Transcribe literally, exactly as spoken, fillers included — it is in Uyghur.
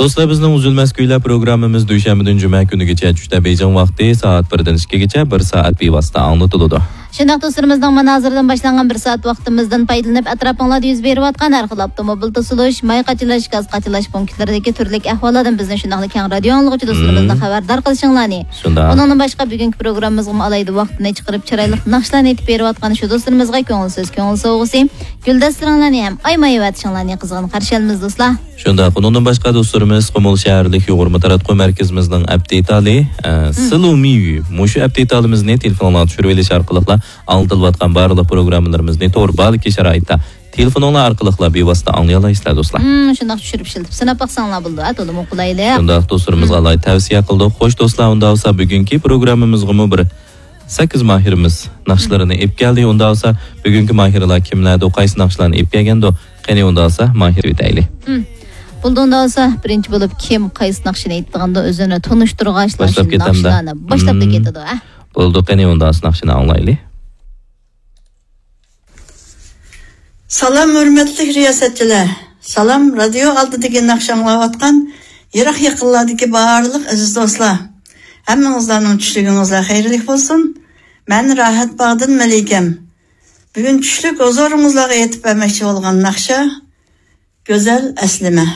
دوستلار، بىزنىڭ ئۈزۈلمەس كۈيلەر پروگراممىمىز دۈشەنبىدىن جۈمە كۈنىگىچە چۈشتە بېيجىڭ ۋاقتى سائەت بىردىن ئىككىگىچە بىر سائەت بىۋاسىتە ئاڭلىتىلىدۇ. شۇنداق دوستلىرىمىزنىڭ مانا ھازىردىن باشلانغان بىر سائەت ۋاقتىمىزدىن پايدىلىنىپ، ئەتراپىڭلاردا يۈز بېرىۋاتقان ھەر خىل ئاپتوموبىل توسۇلۇش، ماي قاچىلاش، گاز قاچىلاش پونكىتلىرىدىكى تۈرلۈك ئەھۋاللاردىن بىزنى شۇنداقلا كەڭ رادىيو ئاڭلىغۇچى دوستلىرىمىزنى مم. خەۋەردار قىلىشىڭلارنى. شۇنداق. ئۇنىڭدىن باشقا، بۈگۈنكى پروگراممىمىزغىمۇ ئالاھىدە ۋاقتىنى چىقىرىپ، چىرايلىق ناخشىلارنى ئېيتىپ بېرىۋاتقان شۇ دوستلىرىمىزغا كۆڭۈل سۆز، كۆڭۈل سوۋغىسى، گۈلدەستىلىرىڭلارنى ھەم ئايىمايۋېتىشىڭلارنى قىزغىن قارشى ئالىمىز، دوستلار. شۇنداق، ئۇنىڭدىن باشقا دوستلىرىمىز قۇمۇل شەھەرلىك يۇغۇرما تاراتقۇ مەركىزىمىزنىڭ ئەپ دېتالى، ئە، مم. سىلۇمىيۈ. مۇشۇ ئەپ دېتالىمىزنى تېلېفونغا چۈشۈرۈۋېلىش ئارقىلىقلا ئاڭلىتىلىۋاتقان بارلىق پروگراممىلىرىمىزنى تور بالىكى شارائىتتا تېلېفونۇڭلار ئارقىلىقلا بىۋاسىتە ئاڭلىيالايسىلەر، دوستلار. مم، شۇنداق چۈشۈرۈپ ئىشلىتىپ سىناپ باقساڭلار بولىدۇ، ھە، تولىمۇ قولايلىق. شۇنداق، دوستلىرىمىزغا مم. ئالاھىدە تەۋسىيە قىلدۇق. خوش، دوستلار، ئۇنداق بولسا بۈگۈنكى پروگراممىمىزغىمۇ بىر سەككىز ماھىرىمىز ناخشىلىرىنى ئېلىپ كەلدى. ئۇنداق بولسا بۈگۈنكى ماھىرلار كىملەردۇ، قايسى ناخشىلارنى ئېلىپ كەلگەندۇ؟ قېنى ئۇنداق بولسا ماھىر ئۆتەيلى. مم. بولدى، ئۇنداق بولسا بىرىنچى بولۇپ كىم قايسى ناخشىنى ئېيتىدىغاندۇ ئۆزىنى تونۇشتۇرغاچلا باشلاپ شۇ كېتەمدۇ؟ ناخشىلارنى باشلاپ مم. كېتىدۇ، ھە. بولدى، قېنى ئۇنداق بولسا ناخشىنى ئاڭلايلى. سالام، ھۆرمەتلىك رىياسەتچىلەر. سالام، رادىيو ئالدىدىكى ناخشا ئاڭلاۋاتقان يىراق يېقىنلاردىكى بارلىق ئەزىز دوستلار. ھەممىڭىزلارنىڭ چۈشلۈكىڭىزلەر خەيرلىك بولسۇن. مەن راھەت باغدىن مەلىكەم. بۈگۈن چۈشلۈك ھۇزۇرىڭىزلارغا ئېيتىپ بەرمەكچى بولغان ناخشا گۈزەل ئەسلىمە.